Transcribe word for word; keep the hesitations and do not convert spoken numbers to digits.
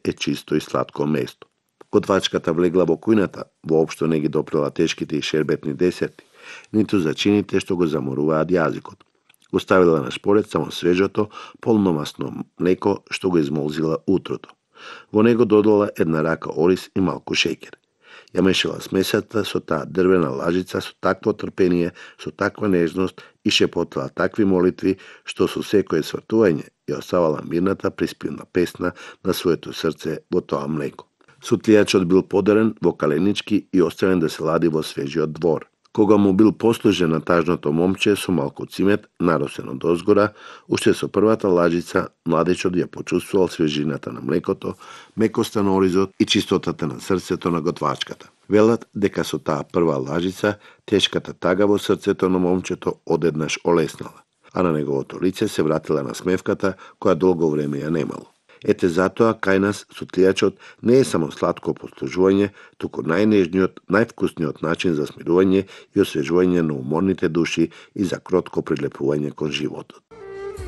е чисто и сладко место. Готвачката влегла во кујната, воопшто не ги допрела тешките и шербетни десерти, ниту зачините што го заморуваат јазикот. Го ставила на шпоред само свежото, полномасно млеко што го измолзила утрото. Во него додала една рака ориз и малку шеќер. Ја мешала смесата со таа дрвена лажица со такво трпение, со таква нежност и шепотала такви молитви, што со секое свртување ја оставала мирната приспивна песна на своето срце во тоа млеко. Сутлијачот бил подарен во каленички и оставен да се лади во свежиот двор. Кога му бил послужен на тажното момче со малку цимет, наросен од озгора, уште со првата лажица, младечот ја почувствувал свежината на млекото, мекоста на оризот и чистотата на срцето на готвачката. Велат дека со таа прва лажица, тешката тага во срцето на момчето одеднаш олеснала, а на неговото лице се вратила насмевката која долго време ја немало. Ете затоа кај нас сутлијачот не е само сладко послужување, туку најнежниот, највкусниот начин за смирување и освежување на уморните души и за кротко прилепување кон животот.